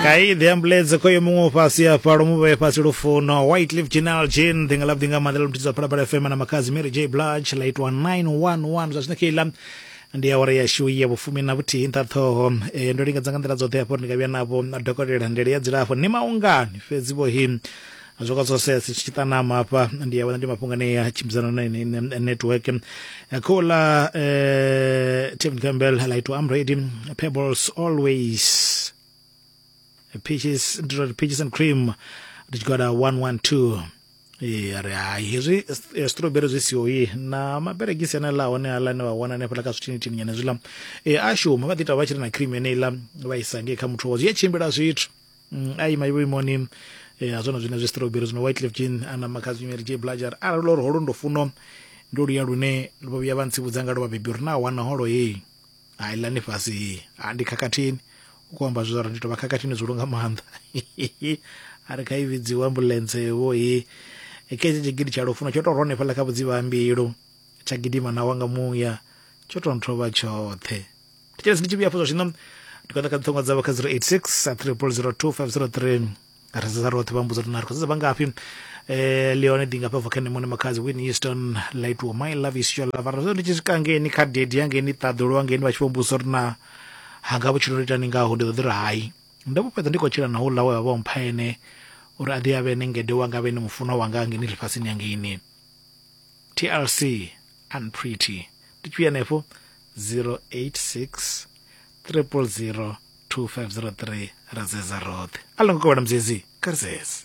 Kai the ambulance khoyo muṅwe fhasi afha lo muvhe fhasi lufuno White Leaf General Jean ḓinga ḽa vhuḓi nga maanḓa ḽo muthidzo Phalaphala FM na Makhadzi Mary J Blige ḽa itwa 911 zwa zwino keiḽa ndi awara yashu ya vhufumi na vhuthihi nṱha ṱhoho. E, ndo lingedza nga nḓila dzoṱhe hafho uri ndi nga vhuya navho dokotela ndele ya dzilafho ni maungani fhedzi vho hi zwo ka zwo si tshi ṱanama hafha ndi ya vhona ndi mafhungo ane ya tshimbidzana na network khola Tevin Campbell la itwa I'm ready Pebbles always peaches peaches and cream ndi tshigwada 112. Ee, a ri hai hezwi strawberry zwi siho i na maberegisi ane ḽa hone aḽa ane vha wana hanefhaḽa kha zwithinithini nyana hezwiḽa e, a shuma vha ḓi ita vha tshi ri na cream yeneiḽa vha isa ngei kha muthu wa zwi a tshimbila zwithu. A ima vhuimoni ha zwone zwine zwi strawberry zwino White Leaf Gin ana Makhadzi Mary J Blige ari arali uri holo ndo funo ndo luya lune vho vhuya vha ntsivhudza nga lwo vhabebi uri na wana holo heyi hai ḽani fhasi heyi ha ndi khakhathini u khou amba zwa uri ndi tou vha khakhathini zwihulu nga maanḓa a ri kha i vhidziwa ambuḽentse vho he khetshi tshigidi tsha lufuno tsho tou rwa hanefhaḽa kha vhudzivha ha mbilu tsha gidima na wanga muya tsho tou nthovha tshoṱhe. Thetshelesi ndi tshi vhuya hafho zwa zwino ndi khou ḓa kha ṱhongo dzavho kha 086 0002503 ri sedza roṱhe vha mbudza uri na ri khou sedza vhangafhi. Leone ḓi ngafha bva kha nṋe muṋe Makhadzi Whitney Houston Lightwo My Love Is Your Love. Arali ndi tshi swika ngeni kha dedi hangeini ṱaḓulu hangeini vha tshi vho mbudzisa uri na hanga vhutshilo ndo itani ngaho ndi ḓo ḓi ri hai ndo vho fhedza ndi khou tshila na houḽa we vha vho mpha ene uri a ḓi a vhe ene ngede wanga a vhe ene mufunwa wanga hangeini ḽifhasini hangeini. TLC Unpretty ndi tshi vhuya hanefho 086 000 2503 ra zeza roṱhe. A ḽo ngo kovhela muzezi kha ri zeze.